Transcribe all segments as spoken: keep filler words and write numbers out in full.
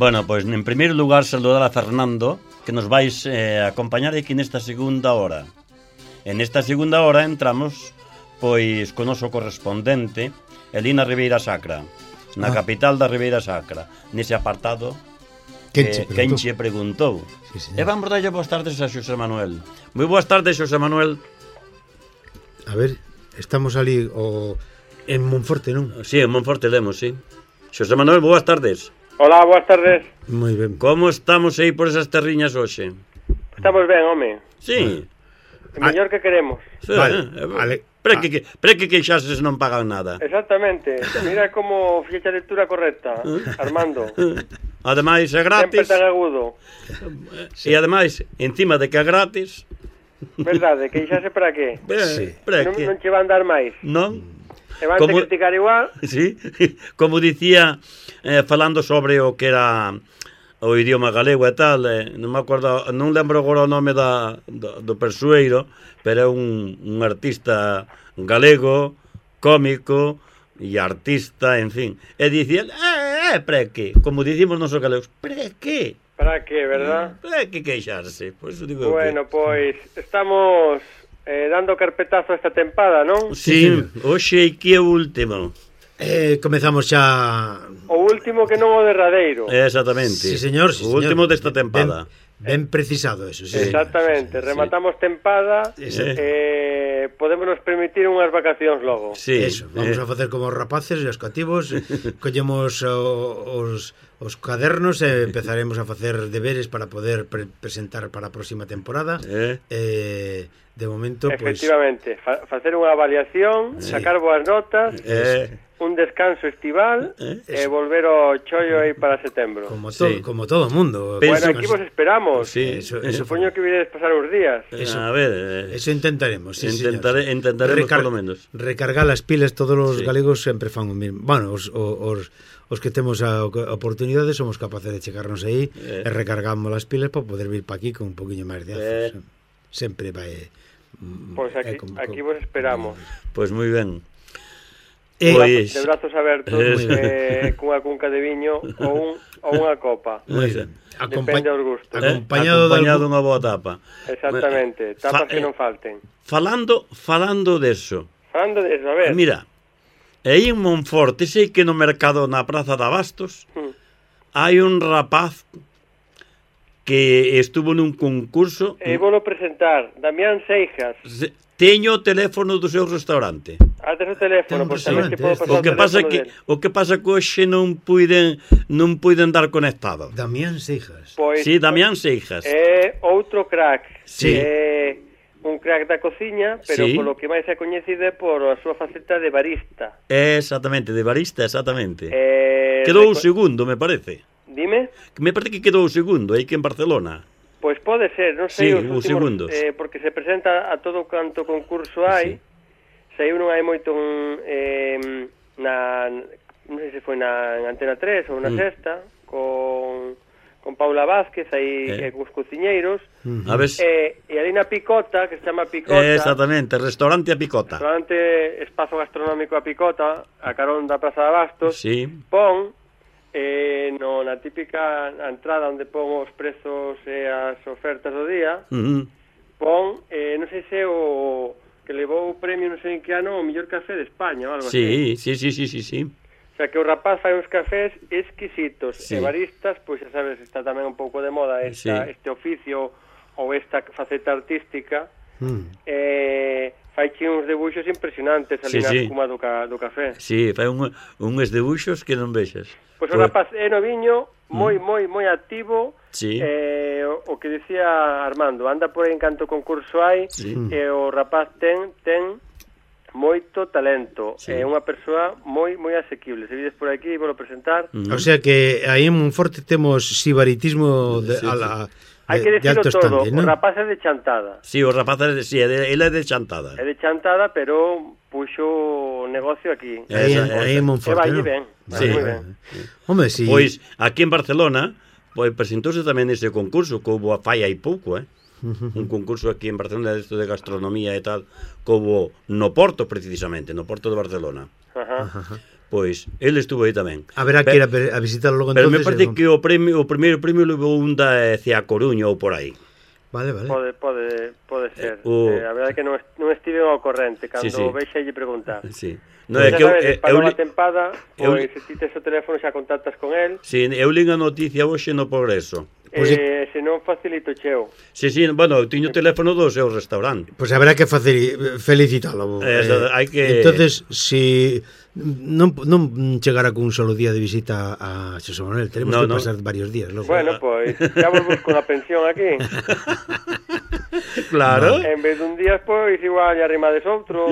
Bueno, pois, pues, en primeiro lugar, saludar a Fernando, que nos vais eh, acompañar aquí nesta segunda hora. En esta segunda hora entramos, pois, con o noso correspondente, Elina Ribeira Sacra, na ah. capital da Ribeira Sacra, nese apartado que quen che preguntou. Sí, e vamos darlle boas tardes a Xosé Manuel. Moi boas tardes, Xosé Manuel. A ver, estamos ali o... en Monforte, non? Sí, en Monforte lemos, sí. Xosé Manuel, boas tardes. Hola, boas tardes. Moi ben. Como estamos aí por esas terriñas hoxe? Estamos ben, home. Sí. O mellor que queremos. Sí, vale, eh, vale. Pre que, que, pre que queixases non pagan nada. Exactamente. Mira como ficha a lectura correcta, Armando. Ademais é gratis. Sempre tan agudo. E ademais, encima de que é gratis. Verdade, queixase para qué? Sí. Non, non che van dar máis. Non. E van como, a criticar igual. Sí, como dicía, eh, falando sobre o que era o idioma galego e tal, eh, non me acordo, non lembro agora o nome da, do, do persoeiro, pero é un, un artista galego, cómico e artista, en fin. E dicía, eh, eh, pre que? Como dicimos nosos galegos, pre que? Para que, verdad? Pre que queixarse? Por eso digo bueno, que... pois, estamos eh, dando carpetazo a esta tempada, non? Sí, hoxe que é o último. Eh, comezamos xa... O último que non o derradeiro. Exactamente. Sí, señor, sí, o señor. último desta tempada. Ben, ben precisado eso, sí. Exactamente, sí, rematamos sí. tempada, sí. eh, podémonos permitir unhas vacacións logo. Sí, eso, vamos eh. a facer como os rapaces e os cativos, collemos os, os cadernos e empezaremos a facer deberes para poder pre presentar para a próxima temporada. Eh, eh de momento, efectivamente, pues... fa facer unha avaliación, sí. sacar boas notas, eh. un descanso estival eh. e volver ao chollo aí para setembro. Como todo, sí. como todo mundo. Bueno, aquí vos esperamos. Sí, eso, eso supoño que viredes pasar uns días. Eso, a ver, eh, eso intentaremos, sí, intentare, intentaremos Recar por lo menos. Recargar as pilas, todos os sí. galegos sempre fan o mismo. Bueno, os, os, os que temos a oportunidade somos capaces de chegarnos aí eh. e recargamos as pilas para poder vir para aquí con un poquinho máis de azos. Eh. Sempre vai... Pois pues aquí, como, aquí vos esperamos. Pois pues moi ben. Eh, pues, de brazos abertos, eh, cunha cunca de viño ou, un, ou unha copa. Moi ben. Depende aos gustos. Acompañado, acompañado dunha boa tapa. Exactamente, tapas Fa que non falten. Falando, falando deso. Falando deso, a ver. Mira, aí en Monforte, sei que no mercado na Praza de Abastos hmm. hai un rapaz que estuvo nun concurso... E volo presentar, Damián Seijas. Teño o teléfono do seu restaurante. Ah, ten o teléfono, pois tamén te podo o pasar que o pasa que del. O que pasa que hoxe non puiden non puiden dar conectado. Damián Seijas. Pois, sí, Damián Seijas. É outro crack. Sí. É un crack da cociña, pero sí. polo que máis é coñecido é por a súa faceta de barista. Exactamente, de barista, exactamente. Eh, Quedou o segundo, me parece. Dime? Me parece que quedou o segundo, aí que en Barcelona. Pois pode ser, non sei sí, os últimos, segundos. Eh, porque se presenta a todo canto concurso hai, sí. saiu non hai moito eh, na, non sei se foi na en Antena tres ou na mm. Sexta, con, con Paula Vázquez aí eh. eh, cos cociñeiros, mm. a ver... eh, e ali na Picota, que se chama Picota, eh, exactamente, restaurante a Picota, restaurante espazo gastronómico a Picota, a carón da Praza de Abastos, sí. pon Eh, no, na típica entrada onde pon os prezos e as ofertas do día, uh -huh. pon, eh, non sei se o que levou o premio non sei en que ano o mellor café de España ou algo sí, así. Sí, sí, sí, sí, sí. O sea, que o rapaz fai uns cafés exquisitos, sí. e baristas, pois xa sabes, está tamén un pouco de moda esta, sí. este oficio ou esta faceta artística, mm. eh... faiche uns debuxos impresionantes ali sí, na sí. espuma do, ca, do café. Sí, fai un, uns debuxos que non vexas. Pois o rapaz é noviño, moi, mm. moi, moi activo, sí. eh, o, o que decía Armando, anda por aí en canto concurso hai, sí. e o rapaz ten, ten moito talento, é sí. eh, unha persoa moi, moi asequible. Se vides por aquí, vou presentar. Mm. O sea que aí en Monforte temos sibaritismo de, sí, a la... Hai que decirlo de todo, estante, ¿no? O rapaz é de Chantada. Sí, o rapaz é de, sí, ele é de Chantada. É de Chantada, pero puxo o negocio aquí. Aí en Monforte, vai ¿no? ben, sí. moi ben. Hombre, sí. Pois aquí en Barcelona, pois presentouse tamén ese concurso que houve a fai hai pouco, eh? Un concurso aquí en Barcelona de, de gastronomía e tal, que houve no Porto precisamente, no Porto de Barcelona. Ajá. Pois, ele estuvo aí tamén. Haberá que ir a, a visitarlo logo entonces. Pero me parece no... que o premio o primeiro premio levou un da hacia a Coruña ou por aí. Vale, vale. Pode, pode, pode ser. Eh, o... eh, a verdade é que non, non estive ao corrente cando sí, sí. vexe lle preguntar. Sí. No, é que eu, sabes, eu, para eu, a tempada, pois eu, se ti tes o teléfono xa contactas con el. Sí, eu li a noticia hoxe no Progreso. Pois eh, se non facilito cheo. Sí, sí, bueno, eu tiño o teléfono do seu restaurante. Pois pues haberá que facer felicitalo. Eh, eh, hai que Entonces, si non non chegara con un solo día de visita a Xosé Manuel, tenemos no, que no. pasar varios días, logo. Bueno, pois, pues, xa vos busco unha pensión aquí. Claro. En vez dun día, pois, igual lle arrimades outro.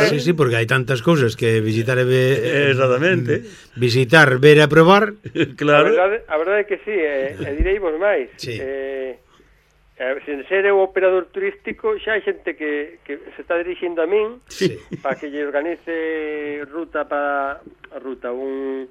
Sí, sí, porque hai tantas cousas que visitar e ver... Exactamente. Visitar, ver e aprobar. Claro. A verdade, a verdade é que sí, e, e direi vos máis. Sí. Eh, sen ser eu operador turístico, xa hai xente que, que se está dirixindo a min sí. para que lle organice ruta para ruta un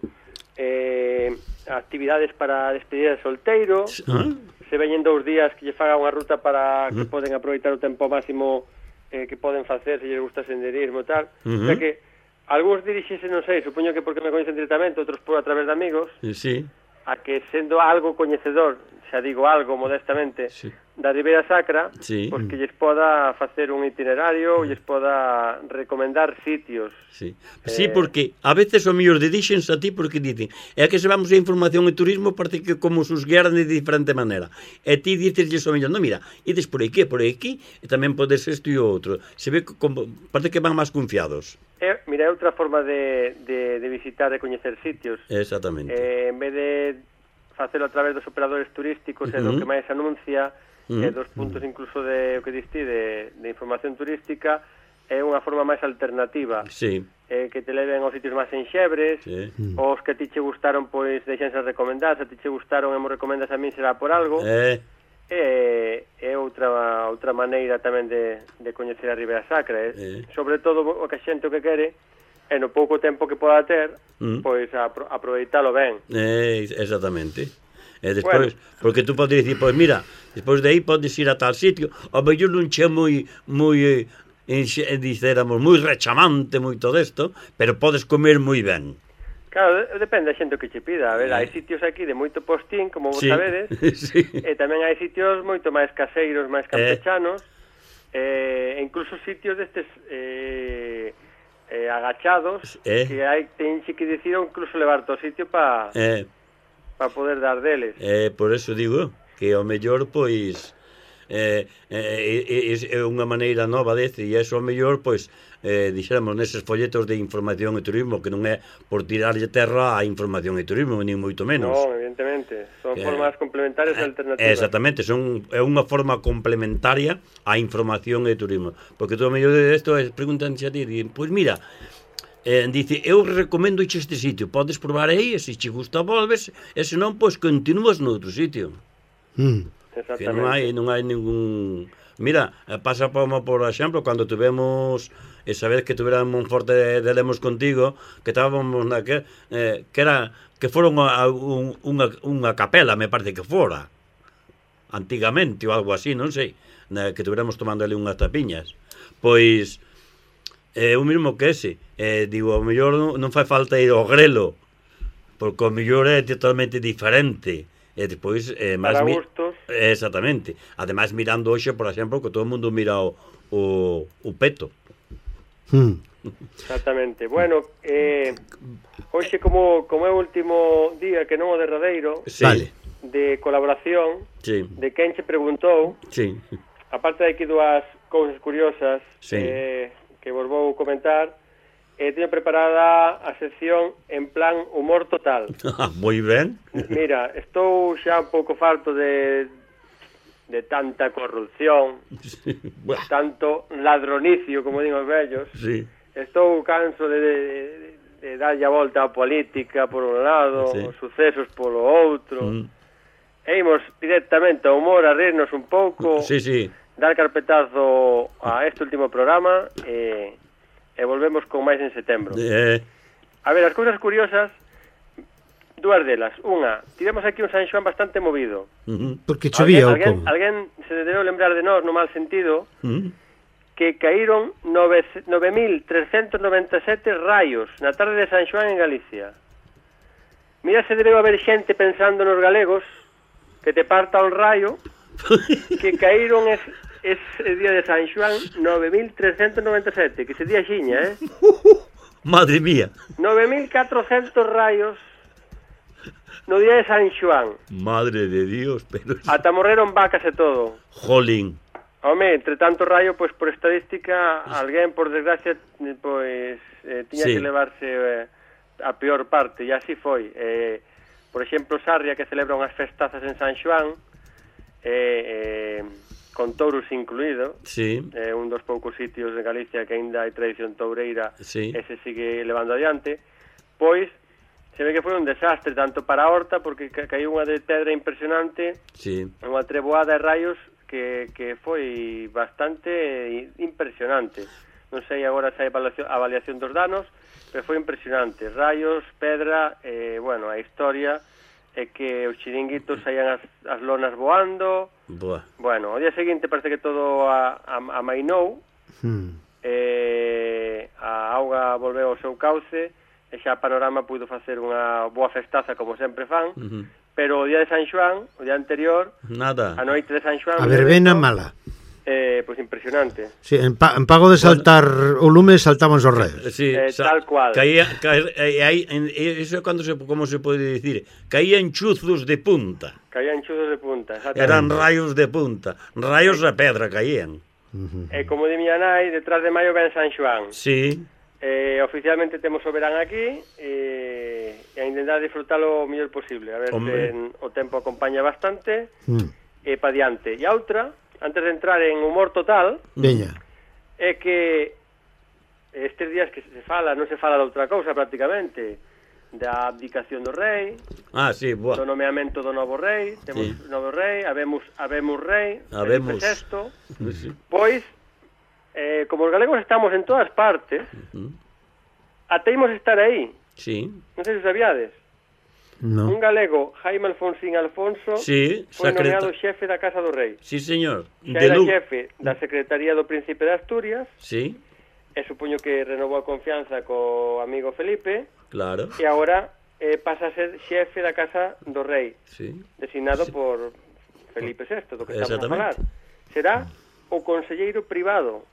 eh, actividades para despedida de solteiro. ¿Ah? Se veñen dous días que lle faga unha ruta para que uh -huh. poden aproveitar o tempo máximo eh, que poden facer se lle gusta senderismo e tal. Uh -huh. O sea que algúns dirixense, non sei, supoño que porque me coñecen directamente, outros por a través de amigos. Sí. A que sendo algo coñecedor, xa digo algo modestamente, sí. da Ribeira Sacra, sí. pois que lles poda facer un itinerario, lles poda recomendar sitios. Sí, eh... sí, porque a veces o mellor dedíxense a ti porque dicen, é que se vamos a información e turismo parece que como os guiaran de diferente maneira. E ti dicesles o mellor, non, mira, ides por aquí, por aquí, e tamén podes isto e outro. Se ve como, parece que van máis confiados. É, mira, é outra forma de, de, de visitar e coñecer sitios. Exactamente. Eh, en vez de facelo a través dos operadores turísticos, uh -huh. e do que máis anuncia, uh -huh. e dos puntos incluso de o que diste de, de información turística, é unha forma máis alternativa. Sí. Eh, que te leven aos sitios máis enxebres, sí. os que a ti che gustaron, pois deixense recomendar, se a ti che gustaron e mo recomendas a min será por algo. Eh... É, é outra outra maneira tamén de, de coñecer a Ribeira Sacra, eh? Eh. Sobre todo o que a xente o que quere e no pouco tempo que poda ter, mm. pois apro aproveitalo ben. Eh, exactamente. E despois, bueno. Porque tú podes dicir, pois mira, despois de aí podes ir a tal sitio, ao mellor non che moi moi eh, dicéramos moi rechamante moi todo isto, pero podes comer moi ben. Claro, depende da xente que che pida. A ver, hai sitios aquí de moito postín, como vos sí. sabedes, sí. E tamén hai sitios moito máis caseiros, máis campechanos, eh, e incluso sitios destes eh, eh, agachados, eh. que hai tenxe que dicir ou incluso levarte ao sitio para eh. pa poder dar deles. Eh, por eso digo que ao mellor, pois, eh, eh, é unha maneira nova deste, e eso ao mellor, pois, eh, dixéramos neses folletos de información e turismo, que non é por tirarlle terra a información e turismo, nin moito menos. Non, evidentemente, son eh, formas complementarias e alternativas. Exactamente, son, é unha forma complementaria á información e turismo, porque todo o mellor de isto é preguntanse a ti, pois pues mira, eh, dice, eu recomendo este sitio, podes probar aí, e se che gusta volves, e se non, pois pues, continúas no outro sitio. Mm. Que non hai, non hai ningún... Mira, pasa como, por exemplo, cando tuvemos esa vez que tuveramos Monforte de, de Lemos contigo, que estábamos na que, eh, que era que foron a, a, un, unha, unha capela, me parece que fora antigamente ou algo así, non sei, na, que tuveramos tomando ali unhas tapiñas. Pois é eh, o mesmo que ese, eh, digo, ao mellor non, non fai falta ir ao grelo, porque ao mellor é totalmente diferente. E despois eh, para gustos. Exactamente. Ademais mirando hoxe, por exemplo, que todo o mundo mira o, o, o peto. Hmm. Exactamente. Bueno, eh, hoxe como, como é o último día, que non o derradeiro, sí. Vale. De colaboración, sí. De quen che preguntou, sí. Aparte de aquí dúas cousas curiosas, sí. eh, que vos vou comentar, eh, teño preparada a sección en plan humor total. Moi ben. Mira, estou xa un pouco farto de de tanta corrupción, sí. Tanto ladronicio, como din os vellos. Sí. Estou canso de, de, de darlle a volta á política por un lado, sí. Os sucesos polo outro. Mm. E imos directamente ao humor a rirnos un pouco, sí, sí. Dar carpetazo a este último programa e, e volvemos con máis en setembro. Eh. A ver, as cousas curiosas, dúas delas. Unha, tivemos aquí un San Xoán bastante movido. Uh -huh. Porque chovía ou alguén, como? Alguén se debeu lembrar de nós no mal sentido, uh -huh. que caíron nove mil trescentos noventa e sete raios na tarde de San Xoán en Galicia. Mira se debe haber xente pensando nos galegos que te parta un rayo que caíron ese, ese día de San Xoán nove mil trescentos noventa e sete, que ese día xiña, eh? Madre mía. nove mil catrocentos rayos no día de San Xoán. Madre de Dios, pero... Ata morreron vacas e todo. Jolín. Home, entre tanto rayo, pois por estadística, alguén, por desgracia, pois eh, tiña sí. que levarse eh, a peor parte, e así foi. Eh, por exemplo, Sarria, que celebra unhas festazas en San Xoán, eh, eh, con touros incluído, sí. eh, un dos poucos sitios de Galicia que ainda hai tradición toureira, sí. e se sigue levando adiante, pois se ve que foi un desastre, tanto para a horta, porque ca caiu unha de pedra impresionante, sí. unha treboada de raios que, que foi bastante impresionante. Non sei agora se hai avaliación, avaliación dos danos, pero foi impresionante. Raios, pedra, eh, bueno, a historia é que os chiringuitos saían as, as lonas voando. Boa. Bueno, o día seguinte parece que todo a, a, amainou, Hmm. eh, a auga volveu ao seu cauce, e xa a Panorama puido facer unha boa festaza como sempre fan, uh -huh. pero o día de San Xoán, o día anterior, nada. a noite de San Xoán, a verbena mala. Eh, pois pues impresionante. Sí, en, pa, en pago de saltar bueno, o lume saltaban os raios. Sí, eh, tal cual. Caía, caía, aí, eso é cando se, como se pode dicir, caían chuzos de punta. Caían chuzos de punta, exactamente. Eran raios de punta, raios de pedra caían. Uh -huh. E como di miña nai, detrás de maio ven San Xoán. Sí. Eh, oficialmente temos o verán aquí e, e a intentar disfrutalo o mellor posible, a ver se o tempo acompaña bastante mm. e pa diante. E a outra, antes de entrar en humor total, Veña. é que estes días que se fala, non se fala de outra cousa prácticamente, da abdicación do rei, ah, sí, boa. do nomeamento do novo rei, temos sí. novo rei, habemos, habemos rei, habemos sexto, sí. Pois Eh, como os galegos estamos en todas partes, uh -huh. ateimos estar aí. Sí. Non sei se sabíades. No. Un galego, Jaime Alfonsín Alfonso, sí, foi secreta... nomeado xefe da Casa do Rei. Sí, señor. Xa era xefe da Secretaría do Príncipe de Asturias. Sí. E supoño que renovou a confianza co amigo Felipe. Claro. E agora eh, pasa a ser xefe da Casa do Rei. Sí. Designado sí. por Felipe sexto, do que estamos a falar. Será o conselleiro privado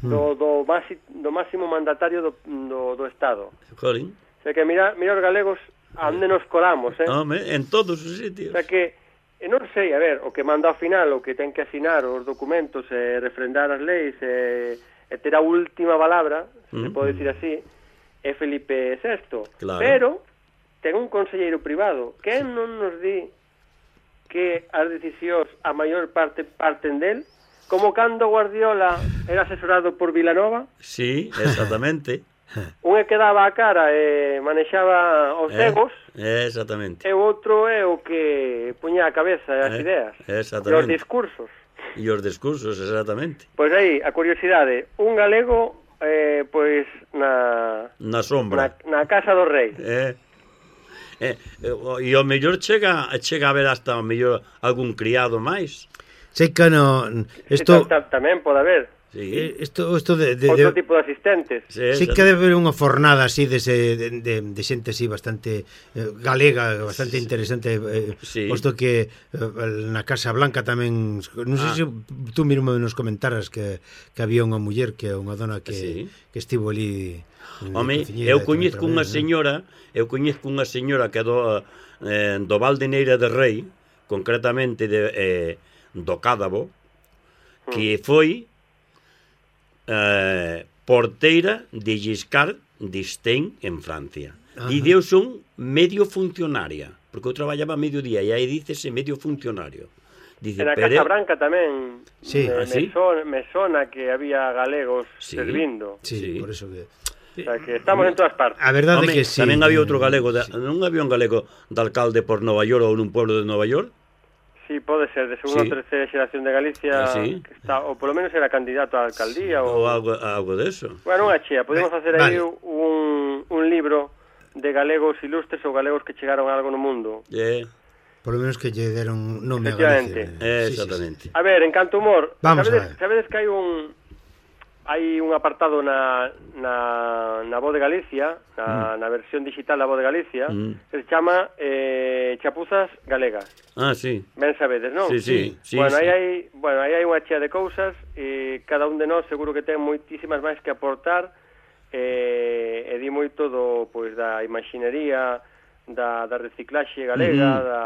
do, do, masi, do máximo mandatario do, do, do Estado. Jolín. O sea que mira, mira os galegos a onde nos colamos, eh? Home, en todos os sitios. O sea que, eh, non sei, a ver, o que manda ao final, o que ten que asinar os documentos, e eh, refrendar as leis, e eh, eh, ter a última palabra, se mm. se pode dicir así, é Felipe sexto. Claro. Pero ten un conselleiro privado. Quen non nos di que as decisións a maior parte parten del? Como cando Guardiola era asesorado por Vilanova. Sí, exactamente. Un é que daba a cara e manexaba os eh, egos. Eh, exactamente. E o outro é o que puña a cabeza e as eh, ideas. Exactamente. E os discursos. E os discursos, exactamente. Pois aí, a curiosidade, un galego, eh, pois, na... Na sombra. Na, na Casa do Rei. Eh. Eh, e o mellor chega, chega a ver hasta o mellor algún criado máis. Sei que no esto sí, tamén pode haber. Sí. Isto isto de, de outro de, tipo de asistentes. Sí, sí que debe haber unha fornada así de, ese, de, de, de xente así bastante eh, galega, bastante sí. interesante, eh, sí. posto que eh, na Casa Blanca tamén, non sei ah. se tú mesmo nos comentaras que, que había unha muller, que unha dona que, sí. que estivo ali. Home, eu coñezco unha señora, eu coñezco unha señora que do eh, do Valdeneira de Rei, concretamente de eh, do Cádabo, que foi eh, porteira de Giscard d'Estaing en Francia. Ajá. E deu son medio funcionaria, porque eu traballaba medio día e aí dícese medio funcionario. Dice, en a Casa Branca tamén sí. me, ¿Ah, sí? me, son, me sona que había galegos sí. servindo. Sí, sí, por eso que... O sea, que estamos en todas partes. A verdade é que sí. Tamén había outro galego, de, sí. non había un galego de alcalde por Nova York ou nun pueblo de Nova York? Sí, pode ser, de segunda sí. ou terceira xeración de Galicia, ah, sí. que está, ou polo menos era candidato á alcaldía. Ou, ou algo, algo de eso. Bueno, unha chea, podemos facer aí vale. un, un libro de galegos ilustres ou galegos que chegaron a algo no mundo. Yeah. Por lo menos que lle deron nome a Galicia. Eh, exactamente. Sí, sí, sí. A ver, en canto humor, vamos sabedes, a ver. sabedes que hai un, hai un apartado na, na, na Voz de Galicia, na, mm. na versión digital da Voz de Galicia, mm. que se chama eh, Chapuzas Galegas. Ah, sí. Ben sabedes, non? Sí, sí. sí bueno, sí. Aí hai, bueno, aí hai unha chea de cousas e cada un de nós seguro que ten moitísimas máis que aportar e, e di moito do, pois, da imaxinería, da, da reciclaxe galega, mm. da,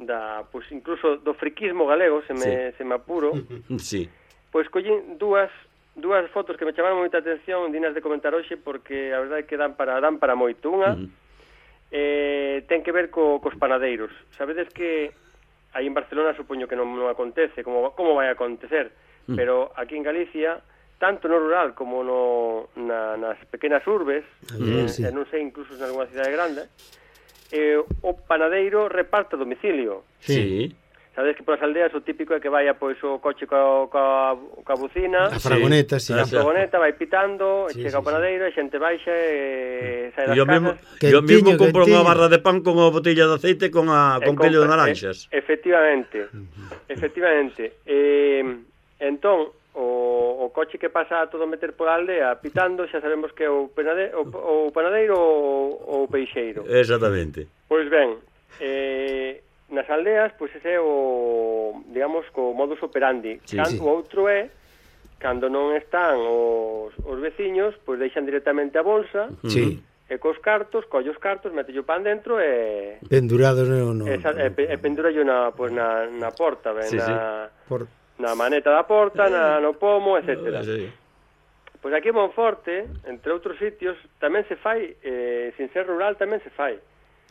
da, pois, incluso do friquismo galego, se me, sí. se me apuro. Sí. Pois collín dúas dúas fotos que me chamaron moita atención, dinas de comentar hoxe, porque a verdade é que dan para dan para moito. Unha uh -huh. eh, ten que ver co, cos panadeiros. Sabedes que aí en Barcelona supoño que non, non acontece, como, como vai a acontecer, uh -huh. pero aquí en Galicia, tanto no rural como no, na, nas pequenas urbes, uh -huh, eh, sí. e non sei, incluso en alguna cidade grande, eh, o panadeiro reparte a domicilio. Sí. Sabedes que polas aldeas o típico é que vaya pois o coche coa, coa, coa bucina, a fragoneta, sí. A fragoneta vai pitando, sí, chega sí, o panadeiro, sí. a xente baixa e sae das yo casas. Yo mesmo compro unha barra de pan con unha botella de aceite con a con quilo de naranxas. E, efectivamente. efectivamente. E, entón, o, o coche que pasa a todo meter pola aldea pitando, xa sabemos que é o, penade, o, o panadeiro ou o peixeiro. Exactamente. Pois ben, eh nas aldeas, pois ese é o, digamos, co modus operandi. Sí, Cando, sí. O outro é, cando non están os, os veciños, pois deixan directamente a bolsa, sí. e cos cartos, colle os cartos, mete o pan dentro e... Pendurados, no, no, esa, no. E, e pendura na, pois, na, na porta, ben, sí, na, sí. Por... na maneta da porta, na, no pomo, etcétera. Sí. Pois aquí en Monforte, entre outros sitios, tamén se fai, eh, sin ser rural, tamén se fai.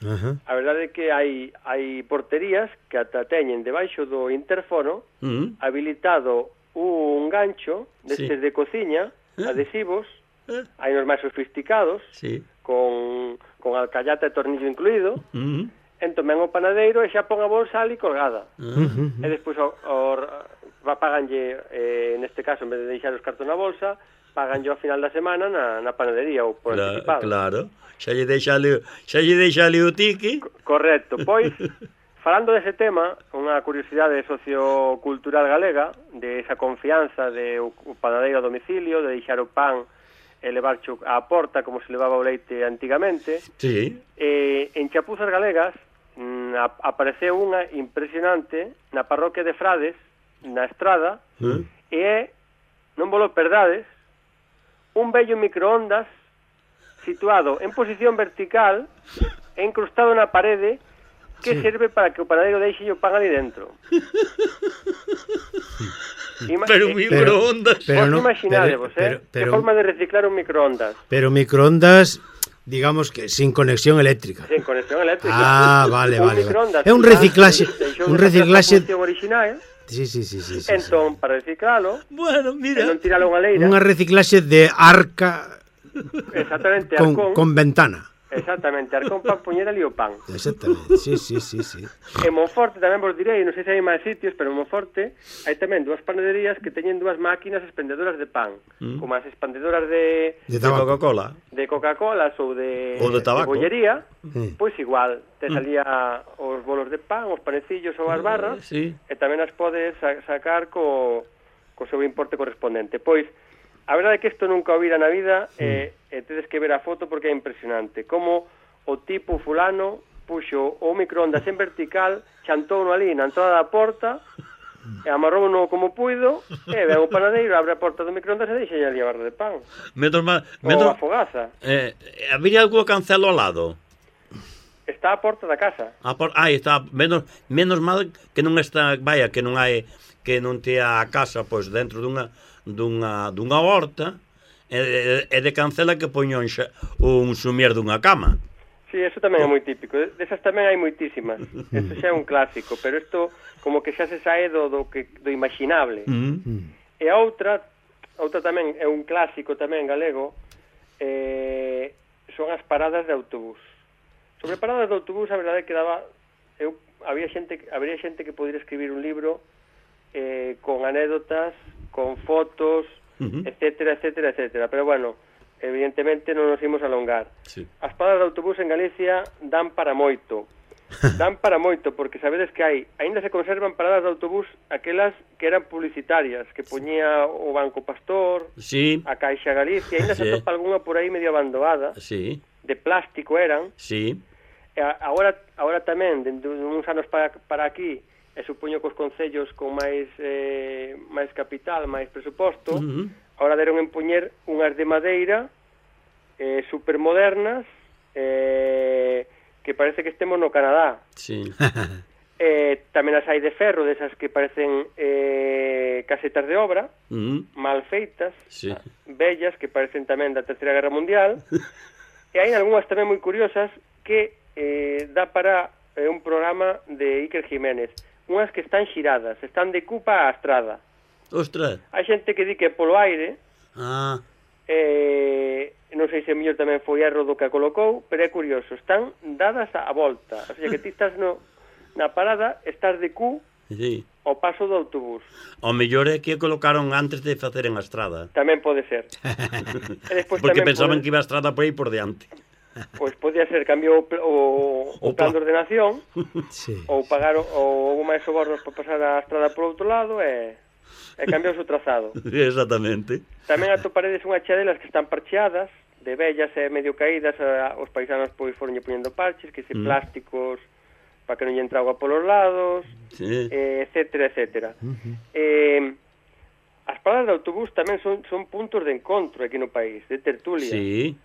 Uh-huh. A verdade é que hai hai porterías que ata teñen debaixo do interfono uh -huh. habilitado un gancho destes sí. de cociña, uh -huh. adhesivos, uh -huh. hai nos máis sofisticados, sí. con, con alcallata e tornillo incluído, uh -huh. entón ven o panadeiro e xa pon a bolsa ali colgada. Uh -huh. E despois o, o, paganlle, eh, neste caso, en vez de deixar os cartos na bolsa, paganlle ao final da semana na, na panadería ou por Cla anticipado. Claro. Xa lle deixa ali, xa lle deixa ali o tiki. Correcto. Pois, falando dese tema, unha curiosidade sociocultural galega, de esa confianza de o panadeiro a domicilio, de deixar o pan e levar á porta como se levaba o leite antigamente. Sí. Eh, en Chapuzas Galegas na, apareceu unha impresionante na parroquia de Frades, na Estrada, ¿Mm? e é, non vos lo perdades, un bello microondas situado en posición vertical e incrustado na parede que sí. serve para que o panadeiro deixe o pan ali dentro. Ima pero un microondas. Vos no, imaginadevos, eh? Que forma de reciclar un microondas. Pero microondas, digamos que sin conexión eléctrica. Sin conexión eléctrica. Ah, vale, vale. vale. É un reciclaxe, un reciclaxe original. Sí, sí, sí, sí, sí. Entón, sí. para reciclalo, bueno, mira, non tiralo unha leira. Unha reciclaxe de arca. Exactamente, con, arcón. Con ventana. Exactamente, arcón para poñer ali o pan. Exactamente, sí, sí, sí, sí. En Monforte tamén vos direi, non sei se hai máis sitios, pero en Monforte hai tamén dúas panaderías que teñen dúas máquinas expendedoras de pan, mm. como as expendedoras de... De, de Coca-Cola. De Coca-Cola ou de... Ou de tabaco. De bollería, mm. pois igual, te salía mm. os bolos de pan, os panecillos ou as barras, uh, sí. e tamén as podes sacar co, co seu importe correspondente. Pois, a verdade é que isto nunca o vira na vida mm. e, e tedes que ver a foto porque é impresionante. Como o tipo fulano puxo o microondas en vertical, xantouno ali na entrada da porta, e amarrouno como puido, e ven o panadeiro, abre a porta do microondas e deixa ali a barra de pan. Menos mal, menos, ou a fogaza. Eh, habría algo cancelo ao lado? Está a porta da casa. A por, aí está, menos, menos mal que non está, vaya, que non hai, que non te a casa, pois, dentro dunha dunha, dunha horta e, e de cancela que poño un, un sumier dunha cama. Sí, eso tamén é moi típico. Desas tamén hai moitísimas. Eso xa é un clásico, pero isto como que xa se sae do, do, que, do imaginable. Mm. E a outra, outra tamén é un clásico tamén galego, eh, son as paradas de autobús. Sobre paradas de autobús, a verdade é que daba, eu, había xente, habría xente que podría escribir un libro eh, con anécdotas, con fotos, uh-huh. etcétera, etcétera, etcétera. Pero bueno, evidentemente non nos imos alongar. Sí. As paradas de autobús en Galicia dan para moito. dan para moito, porque sabedes que hai, aínda se conservan paradas de autobús aquelas que eran publicitarias, que poñía o Banco Pastor, sí. a Caixa Galicia, aínda sí. se atopa algunha por aí medio abandonada, sí. de plástico eran, sí. e agora, agora tamén, dentro de uns anos para, para aquí, e supoño que os concellos con máis eh, máis capital, máis presuposto, uh-huh. agora deron en poñer unhas de madeira eh, supermodernas, eh, que parece que estemos no Canadá. Sí. eh, tamén as hai de ferro, desas que parecen eh, casetas de obra, uh-huh. mal feitas, sí. bellas, que parecen tamén da Terceira Guerra Mundial, e hai algunhas tamén moi curiosas que eh, dá para eh, un programa de Iker Jiménez, unhas que están xiradas, están de cupa á estrada. Ostras. Hai xente que di que polo aire, ah. eh, non sei se mellor tamén foi erro do que a colocou, pero é curioso, están dadas a volta, o sea que ti estás no, na parada, estás de cu sí. ao paso do autobús. O mellor é que colocaron antes de facer en a estrada. Tamén pode ser. Porque pensaban pode... que iba a estrada por aí por diante. Pois podía ser, cambiou o, o, o plan de ordenación, sí. ou pagar o, o máis sobornos para pasar a estrada por outro lado e... e cambiou o trazado. Exactamente. Tamén atoparedes unha chadelas que están parcheadas, de vellas e medio caídas, a, os paisanos pois foronlle poñendo parches, que se mm. plásticos para que non lle entra agua polos lados, sí. eh, etcétera, etcétera. Uh-huh. Eh, as paradas de autobús tamén son, son puntos de encontro aquí no país, de tertulia. Sí.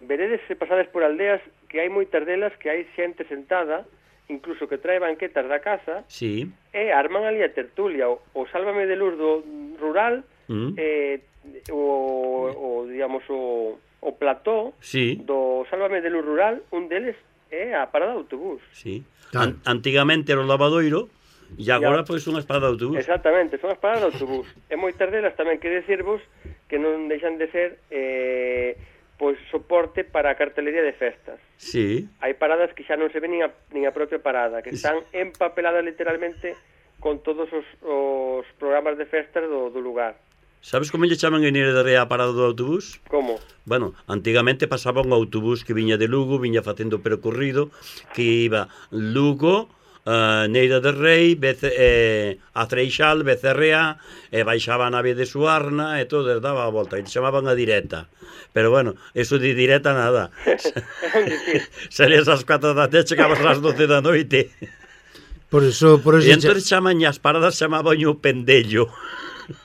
Veredes se pasades por aldeas que hai moitas delas que hai xente sentada, incluso que trae banquetas da casa, sí. e arman ali a tertulia, o, o Sálvame de Luz do rural, mm. eh, o, o, digamos, o, o plató sí. do Sálvame de Luz rural, un deles é a parada de autobús. Sí. An antigamente era o lavadoiro, e agora, pois, son as paradas de autobús. Exactamente, son as paradas de autobús. E moitas delas tamén quere decirvos que non deixan de ser... Eh, pois soporte para a cartelería de festas. Sí. Hai paradas que xa non se ven nin a, nin a propia parada, que están empapeladas literalmente con todos os, os programas de festas do, do lugar. Sabes como lle chaman en Irederrea a parada do autobús? Como? Bueno, antigamente pasaba un autobús que viña de Lugo, viña facendo percorrido, que iba Lugo, Uh, Neira de Rei, Bece, eh, a Freixal, Becerrea, e baixaba a nave de Suarna e todo, daba a volta, e chamaban a direta. Pero bueno, eso de direta nada. Salías ás catro da tarde, chegabas ás doce da noite. Por eso, por eso e entón chaman as paradas, chamaban o pendello.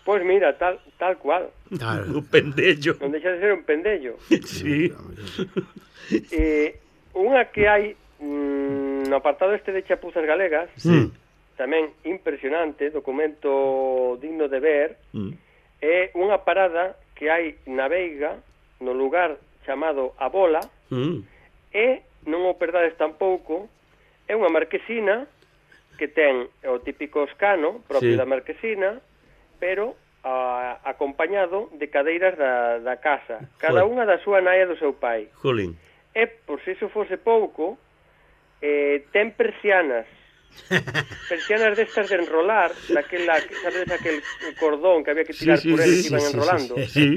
Pois mira, tal, tal cual. Claro. O pendello. Non deixa de ser un pendello. Sí. eh, unha que hai mm, no apartado este de Chapuzas Galegas, sí. tamén impresionante, documento digno de ver, mm. é unha parada que hai na Veiga, no lugar chamado A Bola, mm. e non o perdades tampouco, é unha marquesina que ten o típico escano propio sí. da marquesina, pero a, acompañado de cadeiras da, da casa, cada unha da súa nai e do seu pai. Jolín. E, por se iso fose pouco, eh, ten persianas, persianas destas de enrolar, daquela, sabes, aquel cordón que había que tirar sí, sí, por eles sí, que iban sí, enrolando. Sí, sí.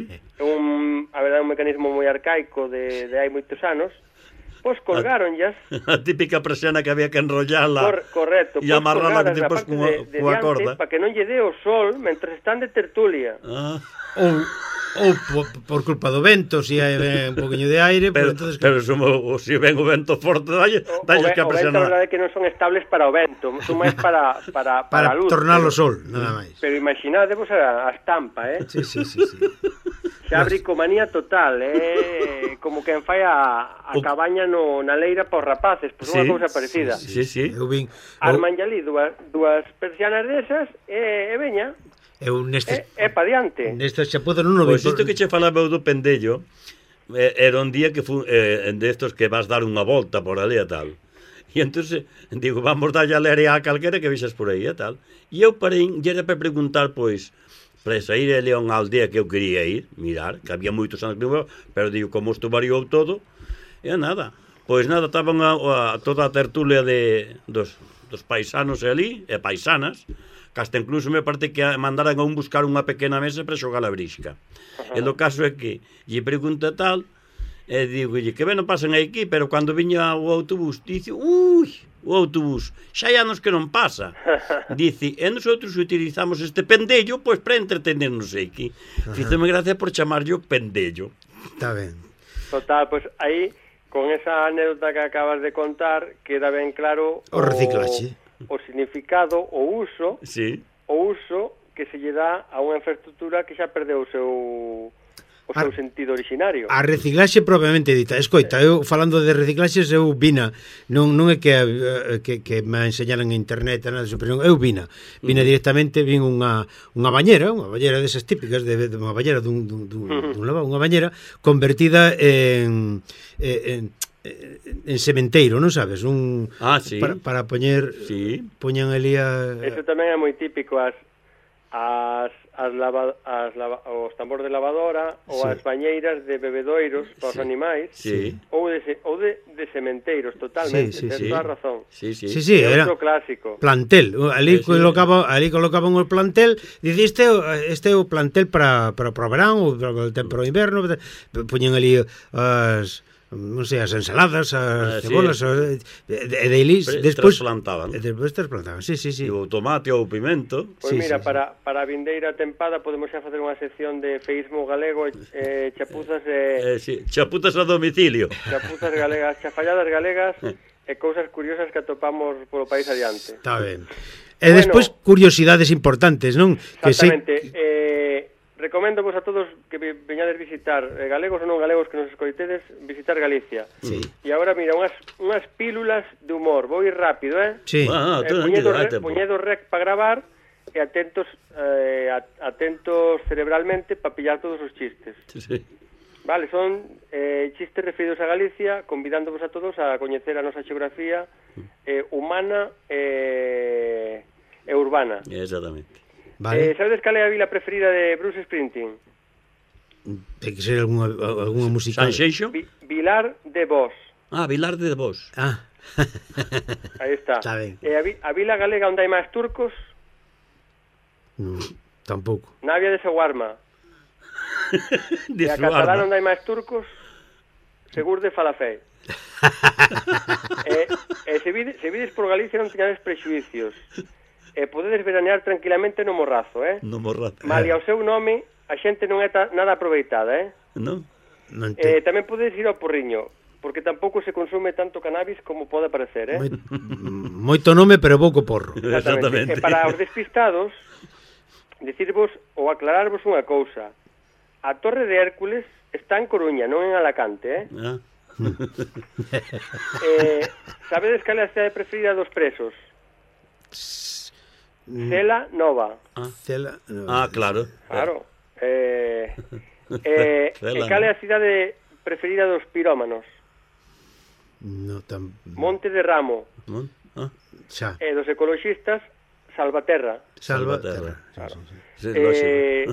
Un, a verdade, un mecanismo moi arcaico de, de hai moitos anos. Pois colgaronllas. A típica persiana que había que enrollarla. Cor, correcto. E amarrarla despois cunha, de, de cunha corda. Para que non lle dé o sol mentre están de tertulia. Ah. Ou, ou por, por culpa do vento, se si hai un poquinho de aire, pero, pues, entonces, pero se, se ven o vento forte, dalle, dalle que a persiana. O vento, a verdade é que non son estables para o vento, son máis para, para, para, para a luz. Para tornar o pero, sol, nada máis. Pero imaginadevos a, a estampa, eh? Sí, sí, sí, sí. Xa bricomanía total, eh? Como quen fai a, a cabaña no, na leira para os rapaces, pois pues unha sí, cousa parecida. Sí, sí, sí. Eu vin, arman ali dúas, dúas persianas desas e, e veña. Eu nestes, é, é pa diante. Nestes chapuzas non o vi. Pois isto que che falaba do pendello, eh, era un día que fu, eh, destos que vas dar unha volta por ali e tal. E entón, digo, vamos darlle a leria a calquera que vixas por aí e tal. E eu parei, e era para preguntar, pois, para sair ali a unha aldea que eu quería ir, mirar, que había moitos anos que non, pero digo, como isto variou todo, e nada. Pois nada, estaban a, a, toda a tertulia de, dos, dos paisanos ali, e paisanas, que hasta incluso me parte que mandaran a un buscar unha pequena mesa para xogar a brisca. E o caso é que lle pregunta tal, E digo, que ben non pasan aquí, pero cando viña o autobús, dice, ui, o autobús, xa hai anos que non pasa. Dice, e nosotros utilizamos este pendello, pois para entretenernos aquí. Fíxome gracia por chamarlo pendello. Está ben. Total, pois aí, con esa anécdota que acabas de contar, queda ben claro o reciclaxe, o significado, o uso, sí. o uso que se lle dá a unha infraestructura que xa perdeu o seu o seu a, sentido originario. A reciclaxe propiamente dita. Escoita, eu falando de reciclaxes, eu vina, non non é que que, que me enseñaran en internet, nada, pero eu vina. Vina uh -huh. directamente, vin unha unha bañera, unha bañera desas típicas de, de unha bañera dun dun dun, uh -huh. dun lavabo, unha bañera convertida en en en sementeiro, non sabes? Un ah, sí. para, para poñer sí. poñan ali a... Eso tamén é moi típico, as as as, lava, as lava, os tambores de lavadora ou sí. as bañeiras de bebedoiros para os sí. animais sí. ou de ou de, de sementeiros, totalmente, sí, sí, tens sí. toda a razón. Sí, sí. Sí, sí, é era outro clásico. Plantel, ali sí, colocaba, ali colocaban o plantel, diciste este é o plantel para para para o verán ou para o tempo para o inverno, poñen ali as non sei, as ensaladas, as ah, cebolas, sí. e de, de ilis, despois trasplantaban. Despois trasplantaban, sí, sí, sí. E o tomate ou o pimento. Pois sí, mira, sí, para, sí. para a vindeira tempada podemos xa facer unha sección de feísmo galego, eh, chapuzas e... Eh, sí. Chapuzas a domicilio. Chapuzas galegas, chafalladas galegas e cousas curiosas que atopamos polo país adiante. Está ben. E bueno, despois curiosidades importantes, non? Exactamente. Que sei... Eh, recomendo vos a todos que veñades visitar, eh, galegos ou non galegos que nos escoitedes, visitar Galicia. Sí. E agora, mira, unhas, unhas pílulas de humor. Vou ir rápido, eh? Sí. Ah, eh, puñedo, re, puñedo rec para gravar e atentos eh, atentos cerebralmente para pillar todos os chistes. Sí. Vale, son eh, chistes referidos a Galicia, convidándovos a todos a coñecer a nosa xeografía eh, humana e, e urbana. Exactamente. Vale. Eh, sabedes cal é a vila preferida de Bruce Springsteen? Ten que ser alguna, alguna musical. Sanxeixo? Vi, Vilar de Vos. Ah, Vilar de Vos. Ah. Aí está. Está ben. Eh, a, vi, a vila galega onde hai máis turcos? No, tampouco. Navia de Seguarma. De e a catalana onde hai máis turcos? Segur de Falafel. e, e se, vides, se vides por Galicia non teñades prexuicios. E podedes veranear tranquilamente no Morrazo, eh? No Morrazo. Malia o seu nome, a xente non é ta, nada aproveitada, eh? Non? Non eh, tamén podedes ir ao Porriño, porque tampouco se consume tanto cannabis como pode parecer, eh? Moi, moito nome, pero pouco porro. Exactamente. E para os despistados, dicirvos ou aclararvos unha cousa. A Torre de Hércules está en Coruña, non en Alacante, eh? Ah. eh sabedes cal é a cidade preferida dos presos? Cela Nova. Ah, Cela Nova. Ah, claro. Claro. Eh, eh, e cal é a cidade preferida dos pirómanos? No, tam... Monte de Ramo. Mon? Ah. Xa. E dos ecologistas, Salvaterra. Salvaterra. Claro. Sí, eh,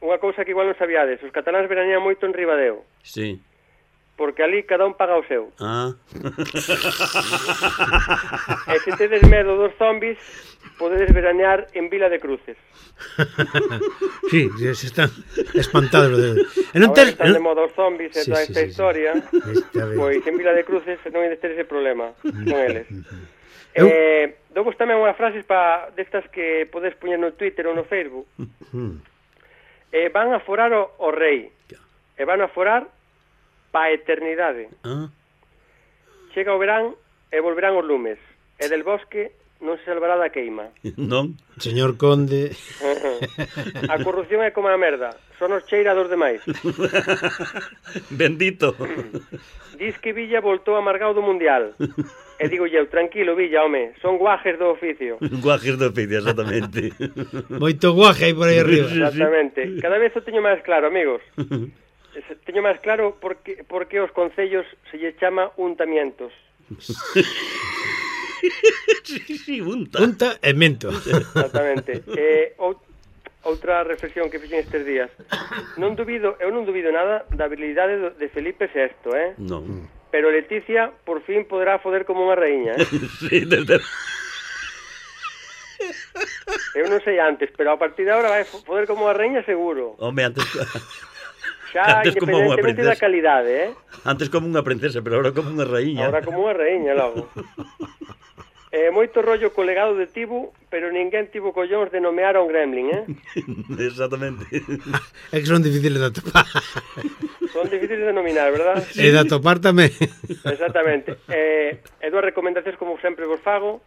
unha cousa que igual non sabíades, os cataláns veranían moito en Ribadeo. Sí. Porque ali cada un paga o seu. Ah. E se tedes medo dos zombies, podedes veranear en Vila de Cruces. Sí, se están espantados. De... E non ter... están de moda os zombies e sí, toda esta sí, historia, sí. Pois en Vila de Cruces non hai de ter ese problema con eles. Eu... Eh, dovos tamén unhas frases pa destas que podes poñer no Twitter ou no Facebook. eh, van a forar o, o rei. E van a forar pa eternidade. Ah. Chega o verán e volverán os lumes. E del bosque non se salvará da queima. Non. Señor Conde. A corrupción é como a merda. Son os cheira dos demais. Bendito. Dis que Villa voltou amargado do Mundial. E digo eu, tranquilo, Villa, home, son guajes do oficio. Guajes do oficio, exactamente. Moito guaje aí por aí arriba. Exactamente. Cada vez o teño máis claro, amigos. Teño máis claro porque, porque os concellos se lle chama untamientos. Sí, sí, unta. Unta e mento. Exactamente. Eh, ou, outra reflexión que fixen estes días. Non dubido, eu non dubido nada da habilidade de Felipe sexto, eh? Non. Pero Leticia por fin poderá foder como unha raíña, eh? Sí, desde... Eu non sei antes, pero a partir de agora vai foder como unha raíña seguro. Home, antes... Xa, independentemente da calidade, eh? Antes como unha princesa, pero ahora como unha raíña. Ahora como unha raíña, logo. Eh, moito rollo co legado de Tibu, pero ninguén tivo collóns de nomear a un gremlin, eh? Exactamente. É que son difíciles de atopar. Son difíciles de nominar, verdad? E de atopar tamén. Exactamente. Eh, e dúas recomendacións como sempre vos fago.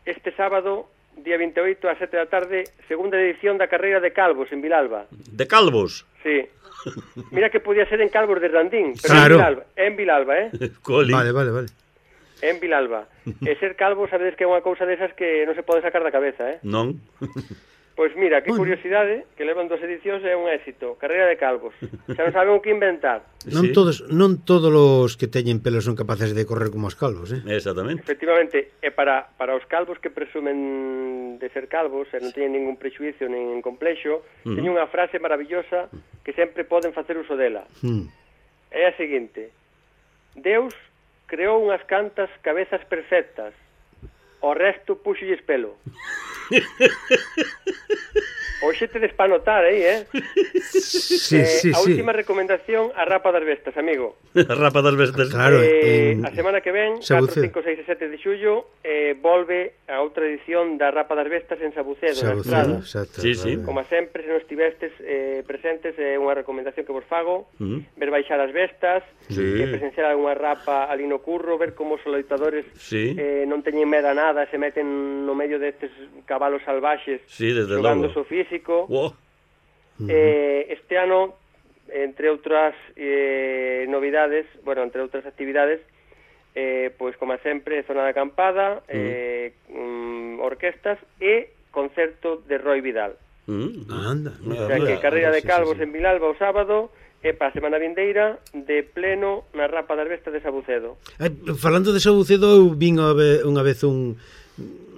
Este sábado, día veintioito, a sete da tarde, segunda edición da carreira de Calvos en Vilalba. De Calvos? Sí. Mira que podía ser en Calvos de Randín, pero Claro. en Vilalba, en Vilalba, eh? Coli. Vale, vale, vale. En Vilalba. E ser calvo, sabedes que é unha cousa desas que non se pode sacar da cabeza, eh? Non. Pois mira, que Bueno. curiosidade, que levan dos edicións e é un éxito. Carreira de calvos. Xa non saben o que inventar. Non Sí. todos, non todos os que teñen pelo son capaces de correr como os calvos, eh? Exactamente. Efectivamente, e para, para os calvos que presumen de ser calvos e non teñen ningún prejuicio nin complexo, Uh-huh. teñen unha frase maravillosa que sempre poden facer uso dela. Hmm. É a seguinte: Deus creou unhas cantas cabezas perfectas, o resto puxolles pelo. Hoxe tedes pa notar aí, eh? Sí, eh, sí, a sí. última recomendación, a rapa das bestas, amigo. Rapa das bestas. Claro, eh, en- a semana que ven, Sabucedo. catro, cinco, seis e sete de xullo, eh, volve a outra edición da rapa das bestas en Sabucedo, na Sabucedo, Estrada. exacto. Sí, sí. vale. Como sempre, se non estivestes eh, presentes, é unha recomendación que vos fago, Uh-huh. ver baixar as bestas, Sí. eh, presenciar algunha rapa ali no curro, ver como os loitadores Sí. eh, non teñen medo a nada, se meten no medio destes cabalos salvaxes, Sí, desde xogando logo. o físico. Wow. Eh, este ano, entre outras eh, novidades, bueno, entre outras actividades, eh, pois como sempre, zona de acampada, eh, mm, orquestas e concerto de Roy Vidal. Mm. Anda. O sea que carreira de sí, calvos sí, sí. en Vilalba o sábado e para a semana vindeira de pleno na Rapa das Bestas de Sabucedo. Ai, falando de Sabucedo, eu vin unha vez, unha vez un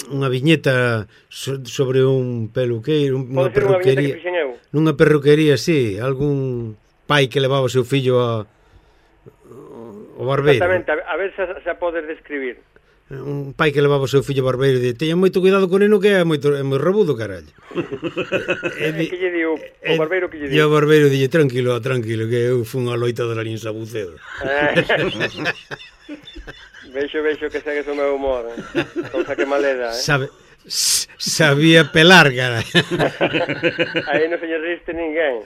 unha viñeta so, sobre un peluqueiro, unha Pode ser unha viñeta que perruquería. fixen eu. Nunha perruquería, sí, algún pai que levaba o seu fillo a o barbeiro. Exactamente, a, a ver se, se a podes describir. Un pai que levaba o seu fillo ao barbeiro e di, teña moito cuidado con neno que é moito é moi rabudo, carallo. E que lle diu o barbeiro que lle E o diu? barbeiro dille, tranquilo, tranquilo, que eu fun a loita de la en Sabucedo. Veixo, veixo que segues o meu humor, eh? Cousa que maleda, eh? Sabe, s- sabía pelar, cara. Aí non se lle riste ninguén.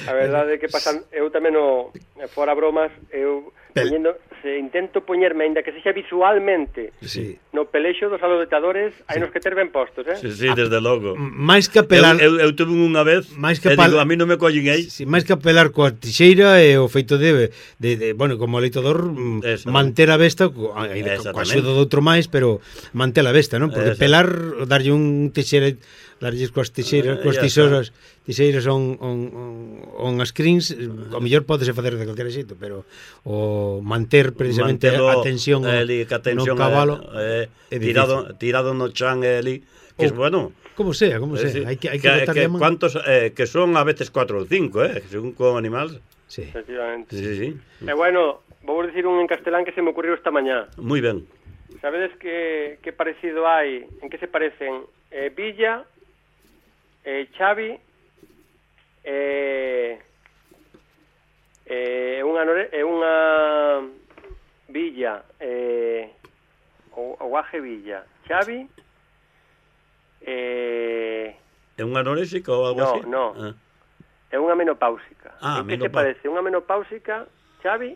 A verdade é que pasan, eu tamén no, fora bromas, eu Pel- poñendo, se intento poñerme, aínda que sexa visualmente, Sí. no pelexo dos aloitadores, hai nos que ter ben postos, eh? Sí, sí, desde logo. Mais que Eu, pelar, eu, eu tuve unha vez Máis que e pal- digo, a mí non me collen aí. si, máis que pelar coa tixeira e o feito de, de, de bueno, como loitador, mm, Eso. manter a besta co, ai, coa Exactamente. axuda de outro máis, pero manter a besta, non? Porque Eso. pelar, darlle un tixeira, darlle coas tixeiras, Eh, coas ya tisouras, tixeiras on, on, on, on as crins, o mellor podese facer de calquera xeito, pero o manter precisamente Mantelo a tensión o- eli, que a tensión no cabalo é, é é, tirado, difícil. tirado no chan é eli, que é Oh, bueno. Como sea, como sea, Eh, sí. hai que, hai que, que, botarlle que a man. cuántos, eh, que son a veces cuatro ou cinco, eh, según con animal. Sí. Efectivamente. Sí, sí, sí. E bueno, vou dicir un en castelán que se me ocurriu esta mañá. Muy ben. Sabedes que, que parecido hai, en que se parecen eh, Villa, eh, Xavi, eh, eh, unha, nore, eh, unha Villa, eh, o, o Guaje Villa, Xavi, eh, É un anoréxico ou algo No, así? no. Ah. é unha menopáusica. Ah, en que se menopau- parece unha menopáusica, Xavi,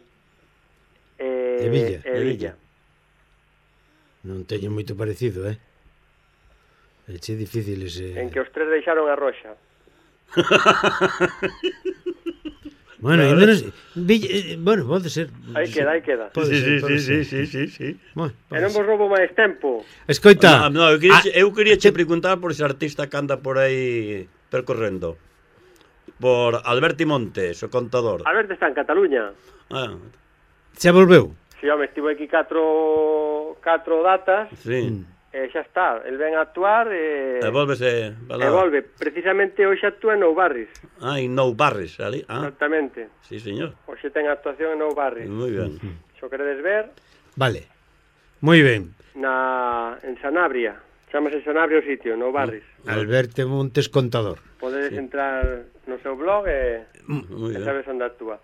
eh, E Villa. e E Villa. Non teño moito parecido, eh? É che difícil ese... En que os tres deixaron a roxa. Bueno, ainda non sei. Villa, eh, bueno, pode ser. Aí queda, aí queda. Pode Sí, ser, sí, pode sí, ser. sí, sí, sí. Bueno, E pode non ser. vos roubo máis tempo. Escoita. No, no, eu quería, ah, eu quería che preguntar por ese artista que anda por aí percorrendo. Por Alberti Montes, o contador. Alberto está en Cataluña. Ah, xa volveu. Si, home, estivo aquí catro, catro datas, sí. Mm. e xa está. El ven a actuar e, E volvese... e volve. Precisamente hoxe actúa en Nou Barris. Ah, en Nou Barris, ali. Ah, Exactamente. sí, señor. Hoxe ten actuación en Nou Barris. Muy ben. Se o queredes ver, Vale. Moi ben. na, en Sanabria. Chámase Sanabria o sitio, Nou Barris. Alberto Montes contador. Podedes entrar no seu blog e, Muy e ben. sabes onde actúa.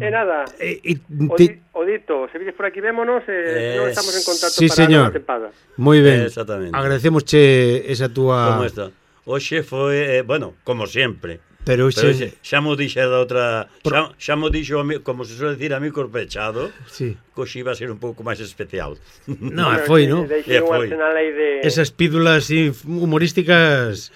E nada, E, e, o, ti... di, o dito, se vides por aquí vémonos, eh, Eh, non estamos en contacto sí, para señor. a tempada. Moi ben. Exactamente. Agradecemosche esa túa... Como está? Hoxe foi, eh, bueno, como sempre. Pero Pero hoxe... xe, xa mo dixe da outra, Por- xa, xa mo dixo, a mi- como se suele decir, a mi corpechado, Sí. que hoxe iba a ser un pouco máis especial. No, Bueno, foi, que non? Deixei Eh, un foi. arsenal aí de... Esas pílulas así humorísticas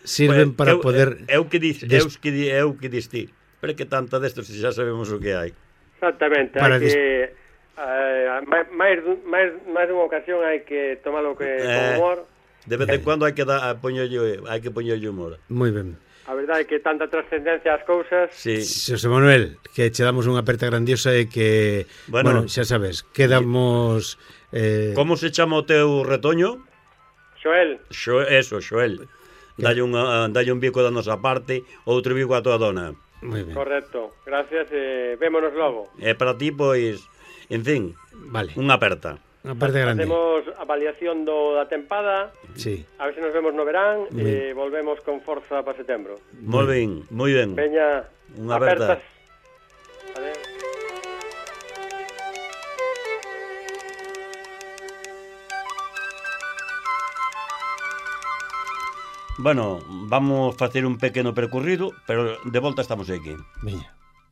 sirven Pues, para eu, poder... Eu que dis, des- eu que di, eu que dis ti. Pero que tanta destos se xa sabemos o que hai. Exactamente, Para hai que... Eh, máis, máis, dun- máis, máis dunha ocasión hai que tomalo que Eh, con humor. De vez en cuando hai que dar, a poñerlle, hai que poñerlle humor. Moi ben. A verdade é que tanta trascendencia ás cousas. Sí. Xosé Manuel, que che damos unha aperta grandiosa e que, bueno, Bueno, xa sabes, quedamos... Eh, Como se chama o teu retoño? Xoel, Xo, eso, Xoel. Dalle, unha, dalle un bico da nosa parte, outro bico a tua dona. moi ben, correcto. Gracias, eh, vémonos logo. E para ti, pois, en fin, vale, unha aperta. unha aperta grande. Facemos avaliación do da tempada, Sí, a ver se nos vemos no verán Moi e volvemos con forza para setembro. Moi ben, moi ben. Veña, Unha aperta. apertas. Adeu. Bueno, vamos facer un pequeno percorrido, pero de volta estamos aquí. veña.